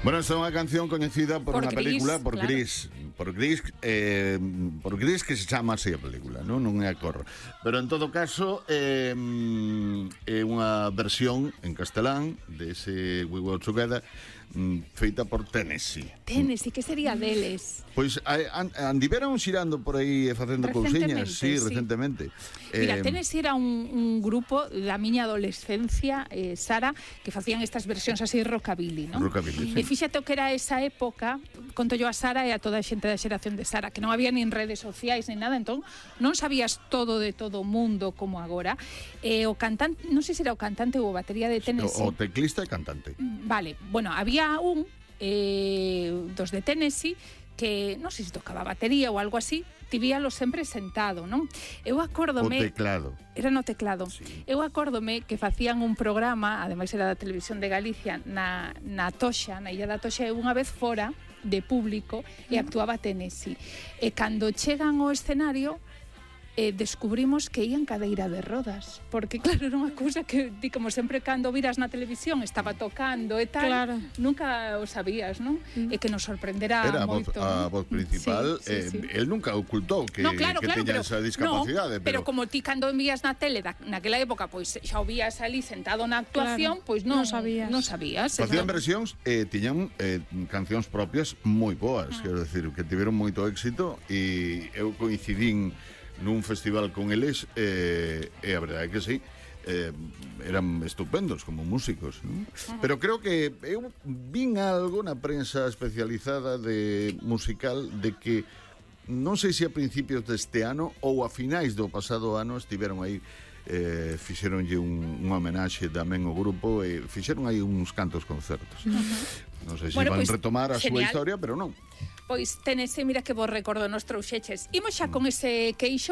Bueno, esta é unha canción coñecida por unha película, por claro. Gris, que se chama así a película, non é a cor. Pero en todo caso é unha versión en castelán dese We Work Together, feita por Tennessee. Tennessee, que sería deles? Pois andiveron xirando por aí e facendo cousiñas, sí, recentemente. Mira, Tennessee era un grupo da miña adolescencia, Sara, que facían estas versións así rockabilly, non? Rockabilly, sí. E fíxate o que era esa época, conto yo a Sara e a toda a xente da xeración de Sara, que non había nin redes sociais nin nada, entón non sabías todo de todo o mundo como agora. O cantante, non sei se era o cantante ou a batería de Tennessee. O teclista e cantante. Vale, bueno, había un dos de Tennessee que non sei se tocaba batería ou algo así, tivíalo sempre sentado, non? Eu acórdome... O teclado. Era no teclado. Sí. Eu acórdome que facían un programa, ademais era da Televisión de Galicia, na Toxa, na Illa da Toxa, e unha vez fora de público e actuaba Tennessee. E cando chegan ao escenario, descubrimos que ían cadeira de rodas, porque claro, era unha cousa que di, como sempre cando viras na televisión estaba tocando e tal, claro. Nunca o sabías, non? E que nos sorprenderá era moito. A voz principal, sí. el nunca ocultou que, claro, teña esa discapacidade, pero como ti cando envías na tele naquela época, pois xa o vías ali sentado na actuación, pois non sabías. Facían versións e tiñan cancións propias moi boas, quero decir, que tiveron moito éxito, e eu coincidín nun festival con eles e a verdade é que sí, eran estupendos como músicos, non? Pero creo que eu vin algo na prensa especializada de musical de que non sei se a principios deste ano ou a finais do pasado ano estiveron aí, fixeronlle unha homenaxe tamén ao grupo e fixeron aí uns cantos concertos. Non sei se van retomar a súa historia, pero non. Pois Tennessee, mira que vos recordo nos trouxeches. Imos xa con ese queixo